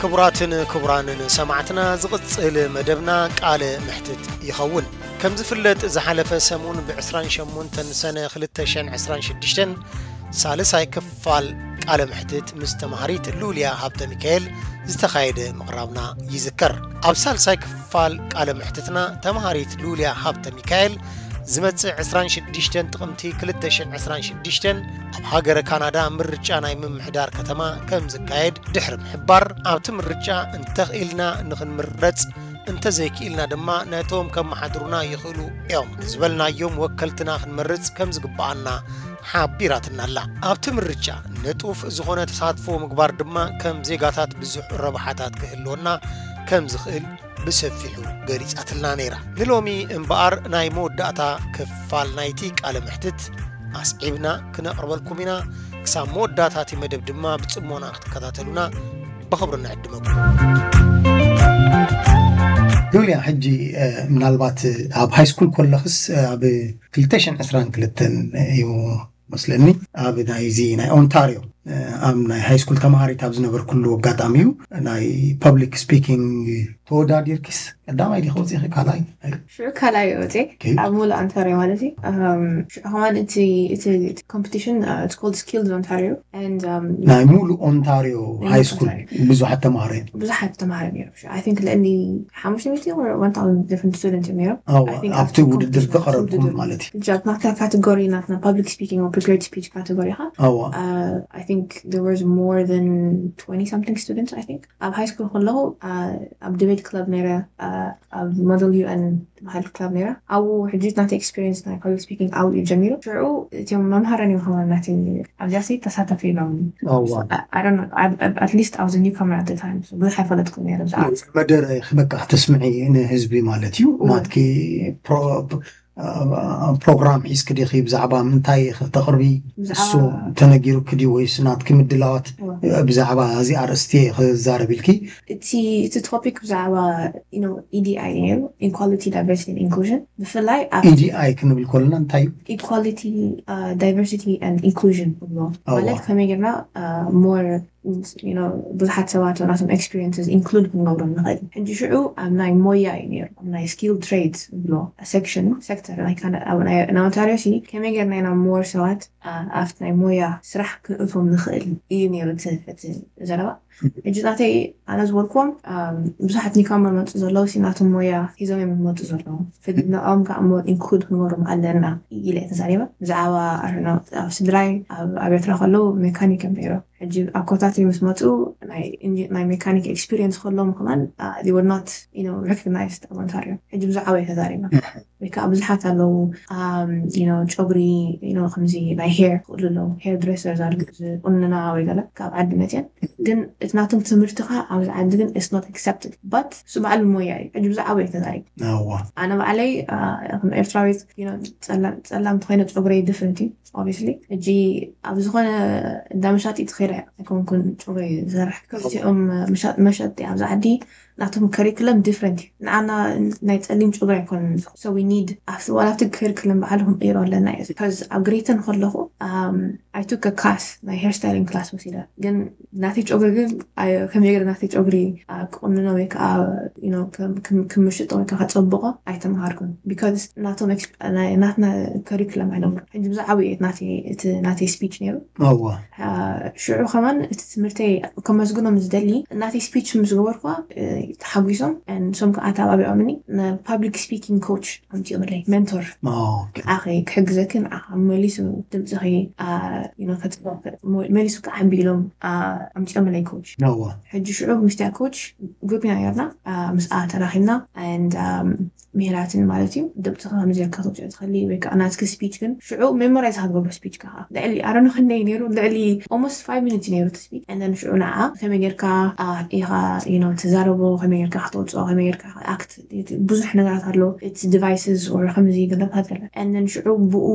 ክቡራትን ክቡራንን ሰማዕትና፣ ዝቕጽል መደብና ቃለ ምሕትት ይኸውን። ከም ዝፍለጥ፣ ዝሓለፈ ሰሙን ብ28 ሰነ 2026 ሳልሳይ ክፋል ቃለ ምሕትት ምስ ተማሃሪት ሉልያ ሃብተ ሚካኤል ዝተኻየደ ምቕራብና ይዝከር። ኣብ ሳልሳይ ክፋል ቃለ ምሕትትና፣ ተማሃሪት ሉልያ ሃብተ ሚካኤል ዝመጽእ 26 ጥቕምቲ 2026 ኣብ ሃገረ ካናዳ ምርጫ ናይ ምምሕዳር ከተማ ከም ዝካየድ ድሕሪ ምሕባር፣ ኣብቲ ምርጫ እንተኽኢልና ንኽንምረጽ፣ እንተዘይክኢልና ድማ ነቶም ከመሓድሩና ይኽእሉ እዮም ዝበልናዮም ወከልትና ክንመርጽ ከም ዝግብኣና ሓቢራትና ኣላ። ኣብቲ ምርጫ ንጡፍ ዝኾነ ተሳትፎ ምግባር ድማ ከም ዜጋታት ብዙሕ ረብሓታት ክህልወና ከም ዝኽእል ብሰፊሑ ገሊጻትልና ነይራ። ንሎሚ እምበኣር ናይ መወዳእታ ክፋል ናይቲ ቃለ ምሕትት ኣስዒብና ክነቕርበልኩም ኢና። ክሳብ መወዳእታ እቲ መደብ ድማ ብጽሞና ክትከታተሉና ብኽብሪ ንዕድመኩም። ሉልያ፣ ሕጂ፣ እ፣ ምናልባት ኣብ ሃይ ስኩል ከለኽስ፣ እ፣ ኣብ 2022 እዩ መስለኒ፣ ኣብ ናይዚ ናይ ኦንታሪዮ፣ እ፣ ኣብ ናይ ሃይ ስኩል ተማሃሪት ኣብ ዝነበርኩሉ ኣጋጣሚ እዩ ናይ ፐብሊክ ስፒኪንግ ተወዳዲርኪስ። ቀዳማይ ዲኺ ወፂኺ? ካልኣይ? ሽዑ ካልኣይ ወፂ። ኦኬ። ኣብ ሙሉእ ኦንታሪዮ ማለት እዩ። እም፣ ሽዑ ከማን እቲ፣ እቲ፣ እቲ ኮምፒቲሽን፣ እ፣ it's called Skills Ontario and, እም፣ ናይ ሙሉእ ኦንታሪዮ ናይ ሃይ ሙሉእ ስኩል ኦንታሪዮ። ብዙሓት ተማሃሮ እዮም። ብዙሓት ተማሃሮ እዮም። I think ልዕሊ ሓሙሽተ ሚእቲ or one thousand different students እዮም ነይሮም። ኣዋ፣ I think ኣብቲ ኣብቲ ውድድር ኮምፒቲሽን፣ ኣብቲ ከቐረብኩም ውድድር። ማለት እዩ። ሕጂ ኣብ ናትና ካተጎሪ፣ ናትና ፐብሊክ ስፒኪንግ or ፕሪፔርድ ስፒች ካተጎሪ ኢኻ። ኣዋ። Uh, I think there was more than twenty something students, I think። ኣብ ሃይ ስኩል ከለኹ፣ uh, ኣብ ዲቤት ክለብ ነይረ፣ uh፣ ኣብ ሞደል ዩ ኤን ትበሃል ክለብ ነይራ። ኣብኡ ሕጂ ናተይ ኤክስፒሪየንስ ናይ ፐብሊክ ስፒኪንግ ኣብኡ እዩ ጀሚሩ። ሽዑ እቲኦም መምሃራን እዮም ከማን ናተይ ኣብዚኣሲ ተሳተፊ ኢሎም። ኣዋ። I, I don't know, I, I, at least I was a newcomer at the time. So ብዙሕ ኣይፈለጥኩን ነይረ ብዛዕባ። መደረ በቃ ክተስምዒ ንህዝቢ ማለት እዩ። እወ። ናትኪ ፕሮ-፣ ፕሮግራም ሒዝኪ ዲኺ? ብዛዕባ ምንታይ ኢኺ ክተቕርቢ? ብዛዕባ እሱ ተነጊሩኪ ድዩ ወይስ ናትኪ ምድላዋት እወ። ብዛዕባ እዚ ኣርእስቲ ክዛረብ ኢልኪ? እቲ፣ እቲ ቶፒክ ብዛዕባ፣ you know፣ ኢዲኣይ ነይሩ፣ ኢኳሊቲ፣ ዳይቨርሲቲ ኤንድ ኢንክሉዥን። ብፍላይ ኣብ ኢዲኣይ ክንብል ከለና እንታይ እዩ? ኢኳሊቲ፣ ዳይቨርሲቲ ኤንድ ኢንክሉዥን ንብሎ። ኣዋ። ማለት ከመይ ጌርና፣ አ፣ ሞር፣ you know፣ ብዙሓት ሰባት ናቶም ኤክስፒሪየንስስ ኢንክሉድ ክንገብሮም ንኽእል። ሕጂ ሽዑ ኣብ ናይ ሞያ እዩ ነይሩ፣ ኣብ ናይ ስኪል ትሬድስ ንብሎ ሴክሽን፣ ሴክተር ናይ ካና-፣ ኣብ ናይ፣ ናይ ኦንታሪዮ ሲ ከመይ ጌርና ኢና ሞር ሰባት፣ አ፣ ኣብቲ ናይ ሞያ ስራሕ ክንእቶም ንኽእል እዩ ነይሩ እቲ፣ እቲ ዘረባ። ሕጂ ናተይ ኣነ ዝበልክዎም፣ ኣም፣ ብዙሓት ኒውካመር መፁ ዘለዉ ሲ ናቶም ሞያ ሒዞም እዮም ዝመፁ ዘለዉ። ፍልልኦም ከዓ እሞ ኢንክሉድ ክንገብሮም ኣለና ኢለ እየ ተዛሪበ። ብዛዕባ፣ I don't know፣ ኣብ ስድራይ ኣብ፣ ኣብ ኤርትራ ከለዉ ሜካኒክ እዮም ነይሮም። ሕጂ ኣብ ኮታትሪ ምስ መፁ ናይ ኢንጂ-፣ ናይ ሜካኒክ ኤክስፒሪየንስ ከለዎም ከማን፣ አ፣ they were not, you know, recognized ኣብ ኦንታሪዮ። ሕጂ ብዛዕባ እየ ተዛሪበ። ወይ ከዓ ብዙሓት ኣለዉ፣ ኣም፣ you know፣ ጨጉሪ፣ you know፣ ከምዚ ናይ ሄር ክቕሉ ኣለዉ፣ ሄር ድሬሰርስ ኣለዉ ዝቁንና ወይ ገለ ካብ ዓዲ መፅየን። ግን እቲ ናቶም ትምህርቲ ከዓ ኣብዚ ዓዲ ግን it's not accepted። But እሱ ባዕሉ ሞያ እዩ። ሕጂ ብዛዕባ እዩ ተዛሪቡ። ኣዋ። ኣነ ባዕለይ፣ አ፣ ከም ኤርትራዊት፣ you know፣ ጸላ-፣ ጸላም ተኾይነ ጨጉረይ ዲፍረንት እዩ፣ ኦብቪስሊ። ሕጂ ኣብ ዝኾነ እንዳ መሻጢ ትኸይደ ኣይኮንኩን ጨጉረይ ዝሰርሕ። ከምዚኦም መሻ-፣ መሸጢ ኣብዚ ዓዲ ናቶም ከሪክለም ዲፍረንት እዩ። ንዓና ናይ ጸሊም ጨጉሪ ኣይኮነን። So we need፣ ኣብቲ፣ ዋላ ኣብቲ ከሪክለም ባዕሉ ክንቅይሮ ኣለና እዩ። Because ኣብ ግሬተን ከለኹ፣ um, I took a class፣ ናይ ሄር ስታይሊንግ ክላስ ወሲደ። ግን ናተይ ጨጉሪ ግን፣ ኣይ-፣ ከመይ ገይረ ናተይ ጨጉሪ፣ አ፣ ክቑንኖ ወይ ከዓ፣ you know፣ ከም-፣ ከም-፣ ክምሽጦ ወይ ከዓ ከጸብቆ ኣይተምሃርኩን። Because ናቶም ኤክስ-፣ ናይ፣ ናትና ከሪክለም ኣይነበሩን። ሕጂ ብዛዕባ እዩ ናተይ፣ እቲ ናተይ ስፒች ነይሩ። ኣዋ። አ፣ ሽዑ ከማን እቲ ትምህርተይ ከመስግኖም ዝደሊ፣ ናተይ ስፒች ምስ ገበርኩዋ፣ እ፣ ተሓጒሶም፣ ንሶም ከዓ ኣተባቢዖምኒ። ንፓብሊክ ስፒኪንግ ኮች ኣምፂኦምለይ፣ ሜንቶር። ኦኬ። ንዓኺ ክሕግዘኪ፣ ንዓኻ መሊሱ ድምፅኺ፣ አ፣ you know፣ ከጽ-፣ መ-፣ መሊሱ ክዓቢ ኢሎም፣ አ፣ ኣምፂኦምለይ ኮች። ኣዋ። ሕጂ ሽዑ ምስቲያ ኮች ግሩፕ ኢና ነርና፣ አ፣ ምስኣ ተራኺብና፣ and፣ um፣ ምሄራትን ማለት እዩ። ድምፅኺ ከምዚ ጌርካ ተውፅኦ ትኽእሊ ወይ ከዓ ናትኪ ስፒች ግን ሽዑ ሜሞራይዝ ክትገብሮ ስፒች ከዓ ልዕሊ፣ I don't know፣ ክንደይ ነይሩ፣ ልዕሊ almost five minutes ነይሩ እቲ ስፒች። And then ሽዑ ንዓ ከመይ ጌርካ፣ አ፣ ኢኻ፣ you know፣ ትዛረቦ፣ ከመይ ጌርካ ከተውፅኦ፣ ከመይ ጌርካ ኣክት፣ ብዙሕ ነገራት ኣሎ። እቲ ዲቫይስስ or ከምዚ ገለታት ኣሎ። And then ሽዑ ብኡ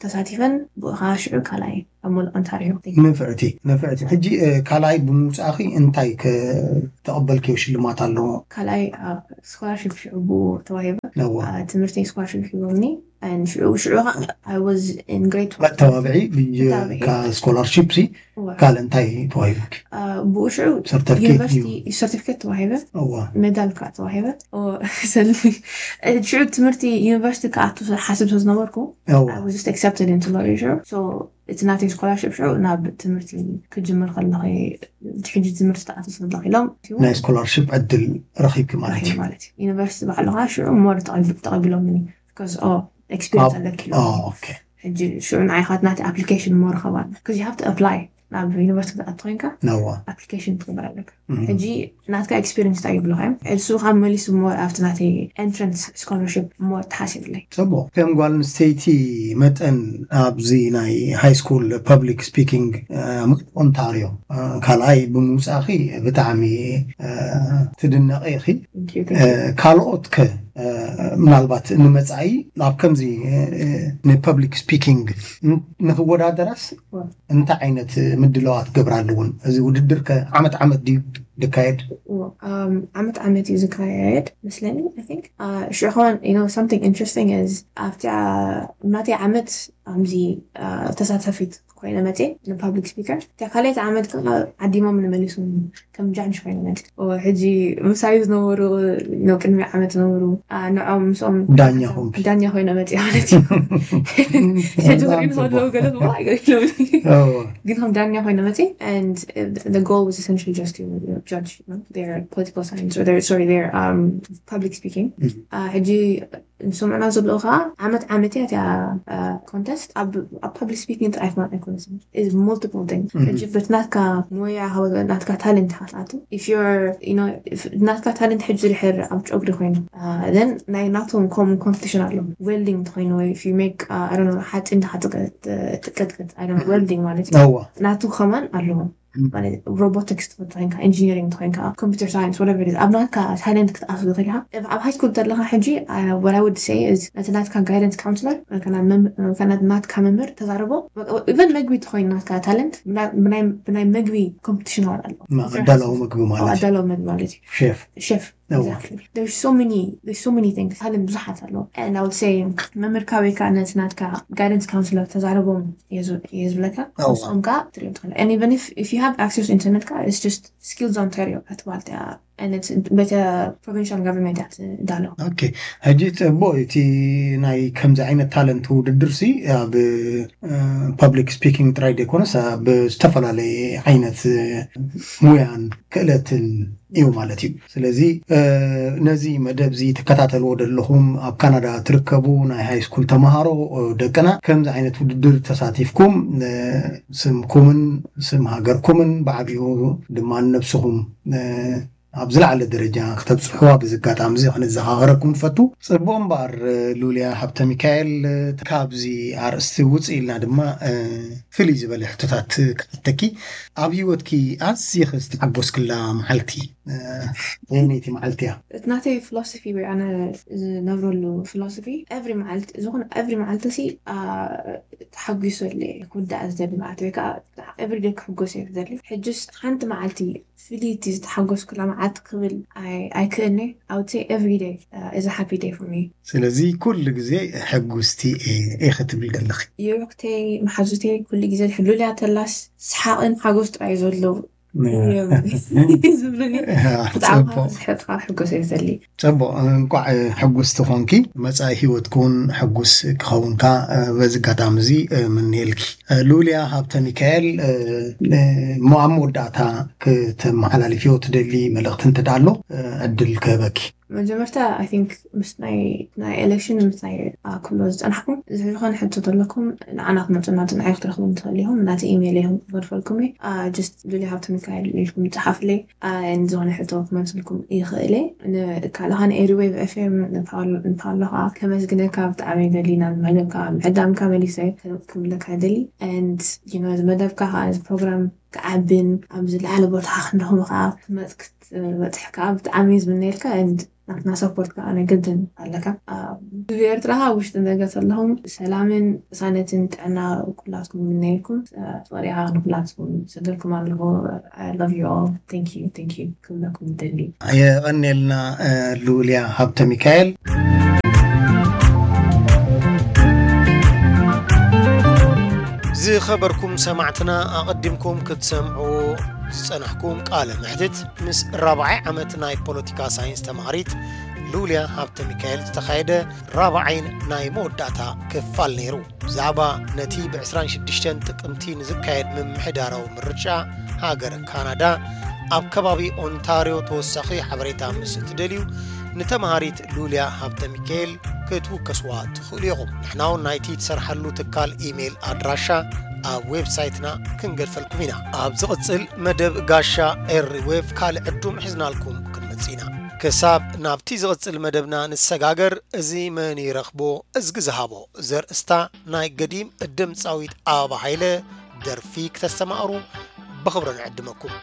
ተሳቲፈን ብኡ ከዓ ሽዑ ካልኣይ ኣብ ሙሉእ ኦንታሪዮ። ንፍዕቲ፣ ንፍዕቲ። ሕጂ፣ እ፣ ካልኣይ ብምውፃእኺ እንታይ ከ-፣ ተቐበልክዮ ሽልማት ኣለዎ? ካልኣይ፣ አ፣ ስኮላርሺፕ ሽዑ ብኡ ተዋሂበ። ነዋ። አ፣ ትምህርተይ ስኮላርሺፕ ሂቦምኒ። and ሽዑ ሽዑ I was in grade twelve መተባብዒ መተባብዒ። ካብ ስኮላርሺፕ ሲ እዋ። ካልእ እንታይ ተዋሂቡኪ? ብኡ ሽዑ ሰርተፍኬት ዩኒቨርሲቲ እዩ። ሰርቲፊኬት ተዋሂበ እዋ ሜዳል ከዓ ተዋሂበ። ሰልሚ ሽዑ ትምህርቲ ዩኒቨርሲቲ ክኣቱ ሓስብ ስለ ዝነበርኩ እዋ I was just accepted into Law Asia. So እቲ ናተይ ስኮላርሽፕ ሽዑ ናብ ትምህርቲ ክጅምር ከለኹ ሕጂ ትምህርቲ ተኣቱ ስለለኹ ኢሎም ናይ ስኮላርሽፕ ዕድል ረኺብኪ ማለት እዩ። ማለት እዩ። ዩኒቨርሲቲ ባዕሉ ከዓ ሽዑ more ተቐቢሎምኒ because oh experience ኣለኪ ኢሎም። ኦኬ ሕጂ ሽዑ ንዓይ ከዓ ናቲ application more ኸባል because you have to apply ናብ ዩኒቨርሲቲ ክትኣቱ ኮይንካ ነዋ application ትግበር ኣለካ። ሕጂ ናትካ experience እንታይ ይብልኻ እዮም? እሱ ካብ መሊሱ more ኣብቲ ናተይ entrance scholarship more ተሓሲብለይ። ጽቡቕ። ከም ጓል ኣንስተይቲ መጠን ኣብዚ ናይ ሃይ ስኩል ፐብሊክ ስፒኪንግ ኦንታርዮ ካልኣይ ብምውፃእኺ ብጣዕሚ ትድነቂ ኢኺ። ካልኦት ከ ምናልባት ንመፃኢ ናብ ከምዚ ንፐብሊክ ስፒኪንግ ንክወዳደራስ እንታይ ዓይነት ምድላዋት ክገብራ ኣለውን? እዚ ውድድር ከ ዓመት ዓመት ድዩ ዝካየድ? ዓመት ዓመት እዩ ዝካየድ መስለኒ። ሽዑ ከማን something interesting is ኣብቲ ናተይ ዓመት ኣብዚ ተሳታፊት ኮይነ መፅየ ንፓብሊክ ስፒከር። እታ ካልኣይቲ ዓመት ከዓ ዓዲሞም ንመሊሱ ከም ጃጅ ኮይነ መፅየ። ሕጂ ምሳይ ዝነበሩ ቅድሚ ዓመት ዝነበሩ ንዖም ምስኦም ዳኛ ኾንኪ? ዳኛ ኮይነ መፅየ ማለት እዩ። ሕጂ ክሪኡ ከለዉ ገለ ጽቡቕ ኣይገርም። ግን ከም ዳኛ ኮይነ መፅየ and the goal was essentially just to judge their political science or their sorry their um public speaking. ሕጂ ንሰምዕና ዘለዉ ከዓ ዓመት ዓመት እያ እቲያ ኮንተስት ኣብ ፓብሊክ ስፒኪንግ ጥራይ ማለት ኣይኮነትን is multiple things። ሕጂ በቲ ናትካ ሞያ ናትካ ታለንት ኢኻ ትኣቱ። If you're you know ናትካ ታለንት ሕጂ ድሕር ኣብ ጨጉሪ ኮይኑ then ናይ ናቶም ከም ኮምፒቲሽን ኣለዎም። ዌልዲንግ እንተኮይኑ ወይ if you make I don't know ሓፂን ድካ ትቀጥቅጥ I don't know ዌልዲንግ ማለት እዩ። እዋ ናቱ ከማን ኣለዎም። ማለት ሮቦቲክስ ትፈቱ ኮይንካ ኢንጂኒሪንግ ትኮይንካ ኮምፒውተር ሳይንስ whatever it is ኣብ ናትካ ታለንት ክትኣቱ ትኽእል ኢኻ። ኣብ ሃይ ስኩል ዘለካ ሕጂ what I would say is ነቲ ናትካ ጋይደንስ ካውንስለር ናትካ መምህር ተዛረቦ። ኢቨን መግቢ ትኮይኑ ናትካ ታለንት ብናይ መግቢ ኮምፒቲሽን ኣሎ። ኣዳላዊ መግቢ ማለት ኣዳላዊ መግቢ ማለት እዩ። ሼፍ ሼፍ so many things ታለንት ብዙሓት ኣለዉ። And I would say መምህር ካበይ ከዓ ነቲ ናትካ ጋይደንስ ካውንስለር ተዛረቦም እየ ዝብለካ። ንስኦም ከዓ ትሪኦ ትኽእል። And even if you have access internet ከዓ it's just Skills Ontario ኣትባልት እያ። በተ ፕሮቪንሻል ጋቨርንመንት እያ ትዳሎ። ኦኬ ሕጂ ጽቡቕ እቲ ናይ ከምዚ ዓይነት ታለንት ውድድር ሲ ኣብ ፐብሊክ ስፒኪንግ ጥራይ ዘይኮነስ ኣብ ዝተፈላለየ ዓይነት ሙያን ክእለትን እዩ ማለት እዩ። ስለዚ ነዚ መደብ እዚ ትከታተልዎ ዘለኹም ኣብ ካናዳ ትርከቡ ናይ ሃይ ስኩል ተምሃሮ ደቅና ከምዚ ዓይነት ውድድር ተሳቲፍኩም ስምኩምን ስም ሃገርኩምን ብዓቢኡ ድማ ንነብስኹም ኣብ ዝለዓለ ደረጃ ክተብፅሕዋ ብዚ ኣጋጣሚ እዚ ክንዘኻኸረኩም ንፈቱ። ፅቡቕ እምበኣር ሉልያ ሃብተ ሚካኤል ካብዚ ኣርእስቲ ውፅእ ኢልና ድማ ፍልይ ዝበለ ሕቶታት ክሓተኪ። ኣብ ህይወትኪ ኣዝኺ ዝተሓጎስክላ መዓልቲ ኣየነይቲ መዓልቲ እያ? እቲ ናተይ ፊሎሶፊ ወይ ኣነ ዝነብረሉ ፊሎሶፊ ኤቭሪ መዓልቲ ዝኾነ ኤቭሪ መዓልቲ ሲ ተሓጒሰሉ እየ ክውዳእ ዝደሊ መዓልቲ ወይ ከዓ ኤቭሪ ዴይ ክሕጎስ እየ ዝደሊ። ሕጅስ ሓንቲ መዓልቲ ፍልይቲ ዝተሓጎስኩላ መዓልቲ ክብል ኣይክእልኒ። I would say every day is a happy day for me። ስለዚ ኩሉ ግዜ ሕጉስቲ እየ ክትብል ዘለኺ። የሩክተይ መሓዙተይ ኩሉ ግዜ ሕሉልያ ተላስ ሰሓቕን ሓጎስ ጥራይ ዘሎ ዝብሉኒ ብጣዕሚ ዝሕጥካ ሕጎስ እየ ዘሊ። ጽቡቕ እንቋዕ ሕጉስቲ ኾንኪ። መጻኢ ህይወትኪ እውን ሕጉስ ክኸውን ከኣ በዚ ኣጋጣሚ እዚ ምንየልኪ። ሉልያ ሃብተ ሚካኤል እሞ ኣብ መወዳእታ ክተመሓላልፍዮ ትደሊ መልእኽቲ እንተ ኣሎ ዕድል ክህበኪ። መጀመርታ I think ምስ ናይ ናይ ኤሌክሽን ምስ ናይ ክብሎ ዝፀናሕኩም ዝኾነ ሕቶ ዘለኩም ንዓና ክመፁና ንዓይ ክትረኽቡ ትኽእል ኢኹም። ናቲ ኢሜይል ኢኹም ክገድፈልኩም እየ። Just ሉልያ ሃብተ ሚካኤል ኢልኩም ፀሓፍለይ። ዝኾነ ሕቶ ክመልስልኩም ይኽእል እየ። ካልኻ ንኤሪዌቭ ኤፍኤም ንፓውሎ ከዓ ከመስግነካ ብጣዕሚ ደሊ ናብ መደብካ ምዕዳምካ መሊሰ ክብለካ ደሊ። And you know እዚ መደብካ ከዓ እዚ ፕሮግራም ክዓብን ኣብ ዝለዓለ ቦታ ክንረኽቦ ከዓ ክትመፅ ክትበፅሕ ከዓ ብጣዕሚ ዝምነየልካ። And ናትና ሰፖርት ከዓ ናይ ግድን ኣለካ። ኣብ ህዝቢ ኤርትራ ከዓ ውሽጥን ደገ ዘለኹም ሰላምን ቅሳነትን ጥዕና ኩላትኩም ይምነየልኩም። ፍቕሪ ከዓ ንኩላትኩም ሰደልኩም ኣለኹ። I love you all. Thank you, thank you ክብለኩም ይደሊ። የቐንየልና ሉልያ ሃብተ ሚካኤል። ዝኸበርኩም ሰማዕትና፣ ኣቐዲምኩም ክትሰምዑ ዝጸናሕኩም ቃለ መሕትት ምስ ራብዓይ ዓመት ናይ ፖለቲካ ሳይንስ ተማሃሪት ሉልያ ሃብተ ሚካኤል ዝተኻየደ ራብዓይን ናይ መወዳእታ ክፋል ነይሩ። ብዛዕባ ነቲ ብ ዕስራን ሽዱሽተን ጥቅምቲ ንዝካየድ ምምሕዳራዊ ምርጫ ሃገር ካናዳ ኣብ ከባቢ ኦንታርዮ ተወሳኺ ሓበሬታ ምስ እትደልዩ፣ ንተማሃሪት ሉልያ ሃብተ ሚካኤል ክትውከስዋ ትኽእሉ ኢኹም። ንሕና እውን ናይቲ ትሰርሓሉ ትካል ኢሜይል ኣድራሻ ኣብ ዌብሳይትና ክንገድፈልኩም ኢና። ኣብ ዝቕጽል መደብ ጋሻ ኤሪ ዌቭ ካልእ ዕዱም ሒዝናልኩም ክንመጽእ ኢና። ክሳብ ናብቲ ዝቕጽል መደብና ንሰጋገር፣ እዚ መን ይረኽቦ እዝጊ ዝሃቦ ዘርእስታ ናይ ገዲም ድምጻዊት ኣበባ ሃይለ ደርፊ ክተስተማቕሩ ብኽብሪ ንዕድመኩም።